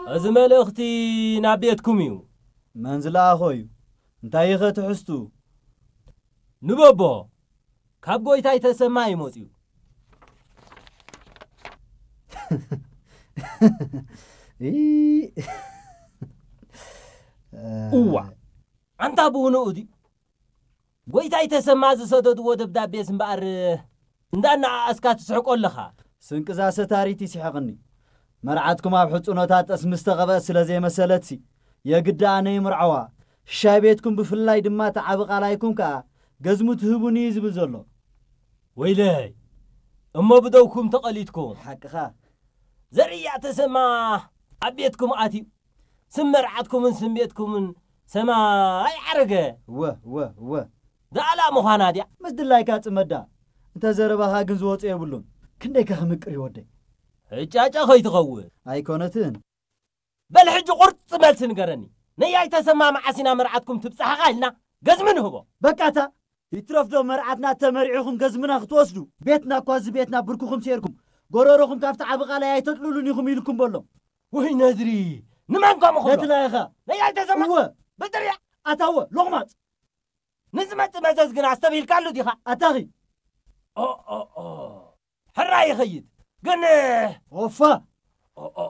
እዚ መልእኽቲ ናብ ቤትኩም እዩ። መን ዝለኣኾ እዩ? እንታይ ኢኸ ትሕዝቱ? ንበቦ፣ ካብ ጎይታይ ተሰማ እዩ መጺኡ። እዋ፣ ኣንታ ብውንኡ ድዩ? ጎይታይ ተሰማ ዝሰደድዎ ደብዳቤስ እምበኣር እንዳነኣኣስካ ትስሕቆ ኣለኻ። ስንቅዛ ሰታሪት ይስሕቕኒ። መርዓትኩም ኣብ ሕጹኖታ ጠስሚ ዝተቐብአት ስለ ዘይመሰለትሲ፣ የግዳ ኣነ ይምርዓዋ። ሻይ ቤትኩም ብፍላይ ድማ እቲ ዓቢ ቃላይኩም ከኣ ገዝሙ ትህቡኒ እዩ ዝብል ዘሎ። ወይለይ፣ እሞ ብደውኩም ተቐሊድኩም። ሓቅኻ። ዘርያ ተሰማ ኣብ ቤትኩም ኣትዩ፣ ስም መርዓትኩምን ስም ቤትኩምን ሰማይ ዓረገ። እወ፣ እወ፣ እወ። ደኣላ ምዃና ድያ? ምስ ድላይካ ጽመዳ። እንተ ዘረባኻ ግን ዝወጾ የብሉን። ክንደይካ ክምቅር እዩ ወደይ። ሕጫጫ ከይትኸውን። ኣይኮነትን። በል ሕጂ ቁርጺ መልሲ ንገረኒ። ነያይ ተሰማ መዓስ ኢና መርዓትኩም ትብጻሕኻ ኢልና ገዝሚ ንህቦ። በቃ እታ ይትረፍዶ መርዓትና ተመሪዕኹም ገዝምና ክትወስዱ? ቤትና እኳ እዚ ቤትና ብርክኹም ሴርኩም፣ ጎረሮኹም ካብቲ ዓቢ ቃላይ ኣይተጥልሉን ኢኹም ኢልኩም በሎም። ወይ ነድሪ፣ ንመን ከምኡ ክብሎ? ነቲ ላይኻ። ነያይ ተሰማ። እወ። በጥርያ። ኣታወ፣ ሎቕማጽ። ንዝመጽእ መዘዝ ግን ኣስተብሂልካሉ ዲኻ? ኣታኺ። ኦ፣ ኦ፣ ኦ። ሕራይ ይኸይድ። ግን ኦፋ። ኦ፣ ኦ፣